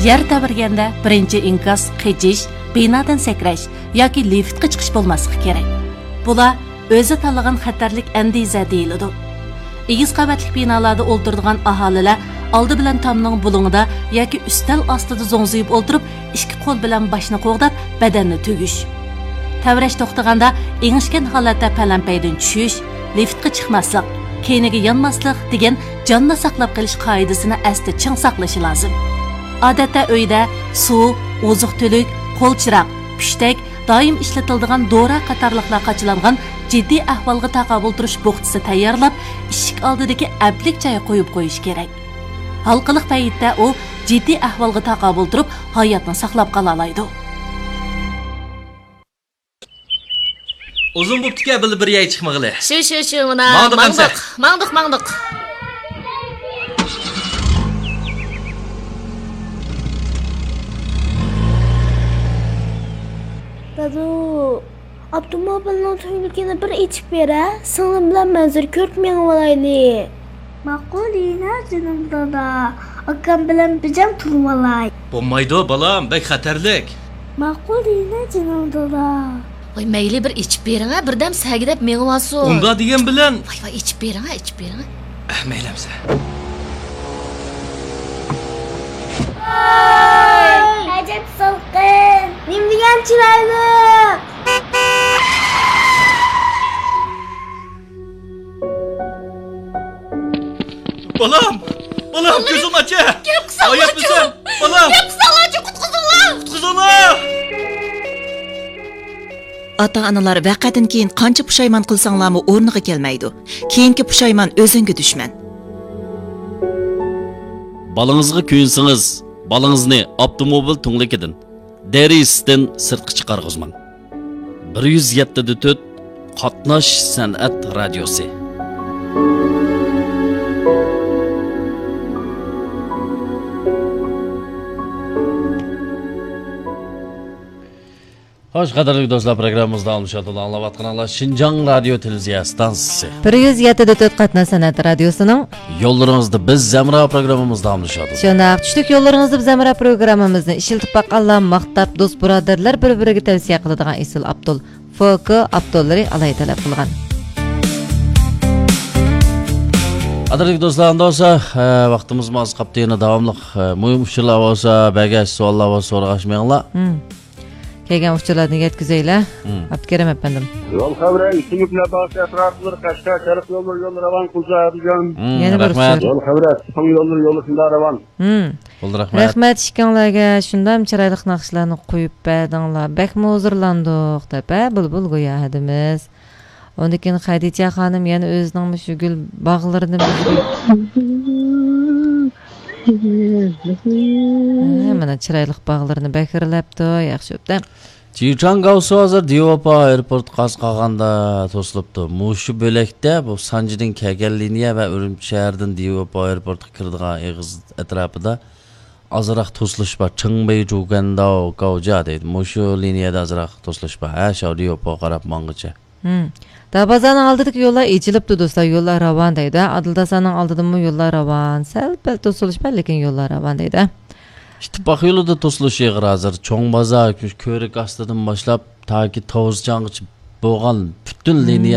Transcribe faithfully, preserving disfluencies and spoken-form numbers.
يەر تەۋرىگەندە بىرىنچى ئىنكاس قېچىش، بىنادىن سەكرەش ياكى لىفتقا چىقىش بولماسلىقى كېرەك. بۇلار ئۆزى تاللىغان خەتەرلىك ئەندىزە دېيىلىدۇ. ئېگىز قەۋەتلىك بىنالاردا ئولتۇرىدىغان ئاھالىلەر ئالدى بىلەن تامنىڭ بۇلۇڭىدا ياكى ئۈستەل ئاستىدا زوڭزىيىپ ئولتۇرۇپ، ئىككى قول بىلەن باشنى قوغداپ، بەدەننى تۈگۈش. تەۋرەش توختىغاندا ئېڭىشكەن ھالەتتە پەلەمپەيدىن چۈشۈش، لىفتقا چىقماسلىق، كەينىگە يانماسلىق دېگەن جاننى ساقلاپ قېلىش قائىدىسىنى ئەستە چىڭ ساقلىشى لازىم. ئادەتتە ئۆيدە سۇ، ئوزۇق-تۈلۈك، قول چىراغ، پۈشتەك، دائىم ئىشلىتىلىدىغان دورا قاتارلىقلار قاچىلانغان جىددىي ئەھۋالغا تاقابىل تۇرۇش بوخچىسى تەييارلاپ، ئىشىك ئالدىدىكى ئەپلىك جايغا قويۇپ قويۇش كېرەك. ھالقىلىق پەيتتە ئۇ جىددىي ئەھۋالغا تاقابىل تۇرۇپ، ھاياتنى ساقلاپ قالالايدۇ. ئۇزۇن بوپتىكەن، بىللە بىر يەرگە چىقمىغىلى. شۇ، شۇ، شۇ، مانا، ماڭدۇق ماڭدۇق، ئەمسە. ماڭدۇق، ماڭدۇق. دادۇ، ئاپتوموبىلنىڭ تۈڭلۈكىنى بىر ئېچىپ بېرە، سىڭلىم بىلەن مەنزىرە كۆرۈپ مېڭىۋالايلى. ماقۇل دېگىنە جېنىم دادا، ئاكام بىلەن بىجەم تۇرۇۋالاي. بولمايدۇ بالام، بەك خەتەرلىك. ماقۇل دېگىنە جېنىم دادا. ۋاي مەيلى بىر ئېچىپ بېرىڭە، بىردەم سەگىدەپ مېڭىۋالسۇن. ئۇنداق دېگەن بىلەن. ۋاي ۋاي ئېچىپ بېرىڭە، ئېچىپ بېرىڭە. ئەھ، مەيلى ئەمسە. ۋاي ئەجەب سالقىن، نېمە دېگەن چىرايلىق. بالام! بالام، كۆزۈڭنى ئاچە! گەپ قىلساڭلارچۇ! ھاياتمىسەن؟ بالام! گەپ قىلساڭلارچۇ، قۇتقۇزۇڭلار! قۇتقۇزۇڭلار! ئاتا-ئانىلار ۋەقەدىن كېيىن قانچە پۇشايمان قىلساڭلارمۇ ئورنىغا كەلمەيدۇ. كېيىنكى پۇشايمان ئۆزۈڭگە دۈشمەن. بالىڭىزغا كۆيۈنسىڭىز، بالىڭىزنى ئاپتوموبىل تۈڭلۈكىدىن، دېرىزىسىدىن سىرتقا چىقارغۇزماڭ. بىر يۈز يەتتە دە تۆت قاتناش سەنئەت رادىيوسى. خوش، قەدىرلىك دوستلار، پروگراممىمىز داۋاملىشىۋاتىدۇ. ئاڭلاۋاتقىنىڭلار شىنجاڭ رادىيو تېلېۋىزىيە ئىستانسىسى. بىر يۈز يەتتە دە تۆت قاتناش سەنئەت رادىيوسىنىڭ يوللىرىڭىزدا بىز ھەمراھ پروگراممىمىز داۋاملىشىۋاتىدۇ. شۇنداق، چۈشلۈك يوللىرىڭىزدا بىز ھەمراھ پروگراممىمىزنى ئىشلىتىپ باققانلار ماختاپ، دوست بۇرادەرلەر بىر-بىرىگە تەۋسىيە قىلىدىغان ئېسىل ئاپتول فوكو ئاپتوللىرى ئالاھىدە تەلەپ قىلغان. قەدىرلىك دوستلار، ئەمدى بولسا، ئە، ۋاقتىمىزمۇ ئاز قاپتۇ، يەنە داۋاملىق، ئە، مۇھىم ئۇچۇرلار بولسا، بەگەش سوئاللار بولسا سورىغاچ مېڭىڭلار. مم. كەلگەن ئۇچۇرلاردىن يەتكۈزەيلى. مم. ئابدۇكېرىم ئەپەندىم. يول خەۋىرى، ئىسىملىك لەباسى ئەتراپلىرى، قەشقەر شەرق يوللىرى يولى راۋان قىلسا دېگەن. مم، يەنە بىر رەھمەت. ئۇچۇر. يول خەۋىرى، ئىسسىق يوللىرى يولى شۇنداق راۋان. مم. بولدى، رەھمەت. رەھمەت ئىككىڭلارگە، شۇنداق چىرايلىق ناخشىلارنى قويۇپ بەردىڭلار. بەكمۇ ھۇزۇرلاندۇق دەپ، ھە، بۇلبۇل گويا ھەدىمىز. ئۇندىن كېيىن خەدىچە خانىم يەنە ئۆزىنىڭ مۇشۇ گۈل باغلىرىنى بىزگە، ھە، مانا چىرايلىق باغلىرىنى بەكرىلەپتۇ، ياخشى ئوبدان. جىچاڭ گاۋسۇ ھازىر دىۋاپا ئايروپورتقا ئاز قالغاندا توسۇلۇپتۇ. مۇشۇ بۆلەكتە بۇ سانجىدىن كەلگەن لىنىيە ۋە ئۈرۈمچى شەھىرىدىن دىۋاپا ئايروپورتقا كىرىدىغان ئېغىز ئەتراپىدا ئازراق توسۇلۇش بار. چىڭبېي، جۇگەنداۋ، گاۋجيا دەيدۇ. مۇشۇ لىنىيەدە ئازراق توسۇلۇش بار. ھە، شاۋ دىۋاپا قاراپ ماڭغۇچە. ھىم. دارۋازانىڭ ئالدىدىكى يوللار ئېچىلىپتۇ، دوستلار، يوللار راۋان دەيدۇ. ئادىل داسانىڭ ئالدىدىمۇ يوللار راۋان. سەل-پەل توسۇلۇش بار، لېكىن يوللار راۋان دەيدۇ. ئىتتىپاق يولىدا توسۇلۇش ئېغىر ھازىر. چوڭ بازار، كۆرۈك ئاستىدىن باشلاپ، تاكى توۋزىچاڭغىچە بولغان پۈتۈن لىنىيە